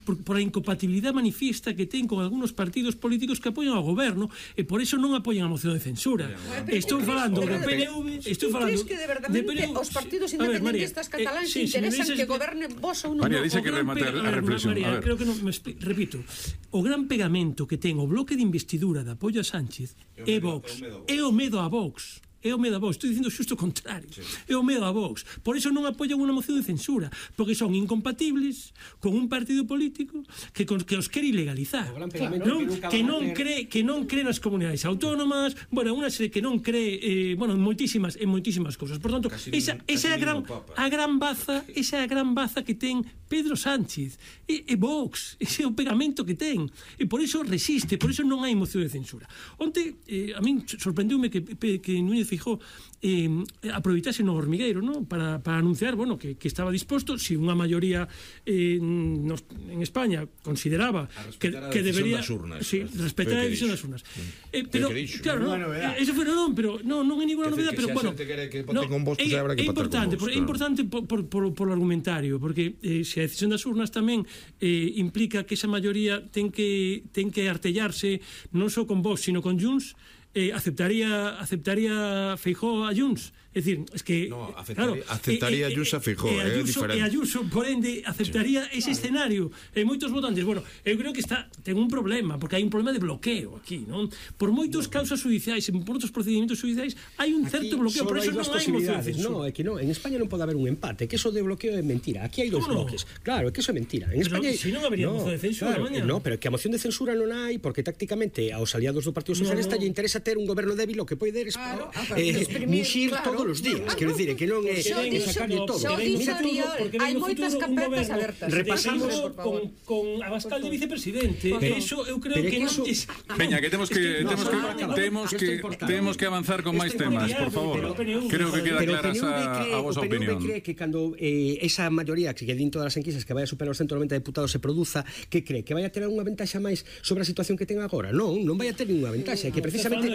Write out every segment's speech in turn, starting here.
por a incompatibilidade manifiesta que ten con algunos partidos políticos que apoian ao goberno e por eso non apoian a moción de censura. Estou falando do PNV, estou falando... Crees que de verdade os partidos independentistas cataláns interesan que gobernen vos ou non? María, dice que remate a reflexión. María, creo que non me repito. O gran pegamento que ten o bloque de investidura de apoio a Sánchez é Vox. É o medo a Vox. É o medo a Vox, estou dicindo xusto o contrario. É o medo a Vox. Por iso non apoian unha moción de censura, porque son incompatibles con un partido político que os quere ilegalizar. Que non cree nas comunidades autónomas, bueno, unha serie que non cree, bueno, en moitísimas cousas. Por tanto, esa é a gran baza que ten Pedro Sánchez e Vox, ese é o pegamento que ten, e por iso resiste, por iso non hai moción de censura. Onte, a min sorprendeume que Núñez Feijóo aproveitase no hormigueiro, ¿no? para anunciar, bueno, que estaba disposto, si unha maioría en España consideraba que debería respetar a decisión das urnas. Pero, claro, eso foi pero non é ninguna novedade, pero bueno, é importante por argumentario, porque se a decisión das urnas tamén implica que esa maioría ten que artellarse non só con Vox, sino con Junts, aceptaría Feijóo a Junts. É dicir, es que aceptaría Junts a Feijóo, é diferente. E Ayuso, por ende, aceptaría ese escenario. E moitos votantes, bueno, eu creo que ten un problema, porque hai un problema de bloqueo aquí, non? Por moitos causas judiciais, por outros procedimentos judiciais, hai un certo bloqueo, por eso non hai moción de censura. No, é que non, en España non pode haber un empate, que eso de bloqueo é mentira. Aquí hai dos bloques. Claro, é que eso é mentira. En España si non habería moción de censura, no, pero que a moción de censura non hai, porque tácticamente aos aliados do Partido Socialista lle interesa ter un goberno débil, o que pode ter muxir todos os días. Quero dicir, que non é sacarlle todo. Hai moitas carpetas abertas. Repasamos con Abascal de vicepresidente. Eso eu creo que non... Peña, que temos que avanzar con máis temas, por favor. Creo que queda clara a vosa opinión. O PNV cree que cando esa maioría que din todas as enquisas que vai a superar os 190 deputados se produza, que cree que vai a ter unha ventaxa máis sobre a situación que ten agora? Non vai a ter ninguna ventaxa, que precisamente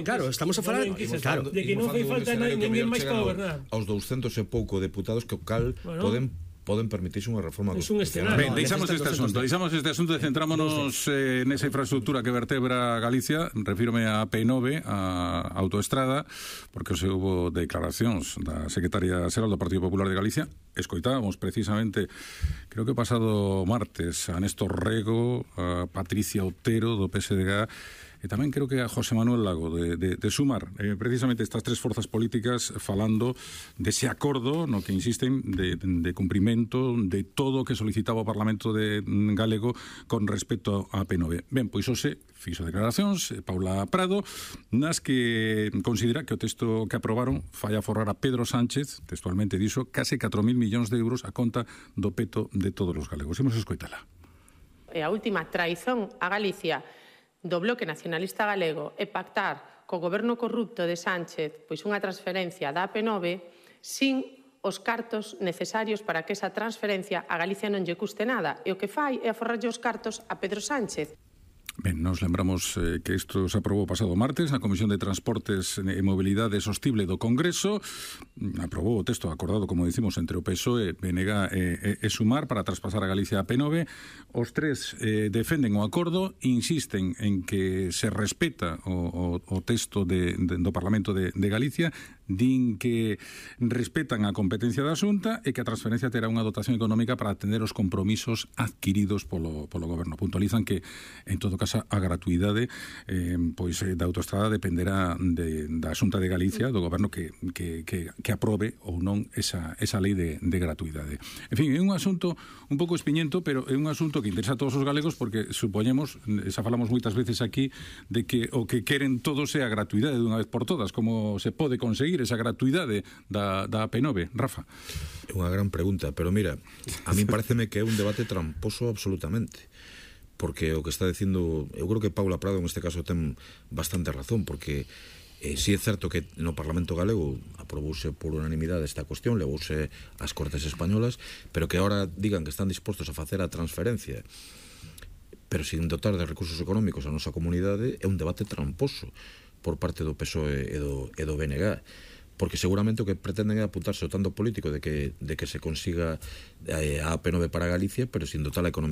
claro, estamos a falar de que non fai falta ninguén máis para gobernar. Aos 200 e pouco deputados que o cal poden permitirse unha reforma constitucional. Ben, deixamos este asunto e centrámonos nesa infraestructura que vertebra Galicia. Refírome a P9, a autoestrada, porque se hubo declaracións da secretaria xeral do Partido Popular de Galicia. Escoitábamos precisamente, creo que o pasado martes, a Néstor Rego, a Patricia Otero do PSDG, e tamén creo que a José Manuel Lago de Sumar, precisamente estas tres forzas políticas falando dese acordo no que insisten de cumprimento de todo o que solicitaba o Parlamento galego con respecto a P9. Ben, pois hoxe fixo declaracións Paula Prado nas que considera que o texto que aprobaron fai aforrar a Pedro Sánchez, textualmente dixo, case 4.000 millóns de euros a conta do peto de todos os galegos. Imos escoitala. A última traizón a Galicia do Bloque Nacionalista Galego e pactar co goberno corrupto de Sánchez pois unha transferencia da AP9 sin os cartos necesarios para que esa transferencia a Galicia non lle custe nada, e o que fai é aforrarlle os cartos a Pedro Sánchez. Ben, nos lembramos que isto se aprobou pasado martes na Comisión de Transportes e Mobilidade Sostible do Congreso. Aprobou o texto acordado, como dicimos, entre o PSOE, BNG e Sumar para traspasar a Galicia a P9. Os tres defenden o acordo, insisten en que se respeta o texto do Parlamento de Galicia, din que respetan a competencia da Xunta e que a transferencia terá unha dotación económica para atender os compromisos adquiridos polo goberno. Puntualizan que, en todo caso, a gratuidade da autoestrada dependerá da Xunta de Galicia, do goberno que aprobe ou non esa lei de gratuidade. En fin, é un asunto un pouco espiñento, pero é un asunto que interesa a todos os galegos, porque supoñemos, xa falamos moitas veces aquí, de que o que queren todos é a gratuidade dunha vez por todas. Como se pode conseguir esa gratuidade da P9, Rafa? É unha gran pregunta, pero mira, a mí pareceme que é un debate tramposo absolutamente, porque o que está dicindo, eu creo que Paula Prado en este caso ten bastante razón, porque si é certo que no Parlamento galego aprobouse por unanimidade esta cuestión, levouse ás Cortes Españolas, pero que ahora digan que están dispostos a facer a transferencia pero sin dotar de recursos económicos a nosa comunidade, é un debate tramposo por parte do PSOE e do BNG, porque seguramente o que pretenden é apuntarse o tanto político de que se consiga a AP9 para Galicia, pero sin dotar a economía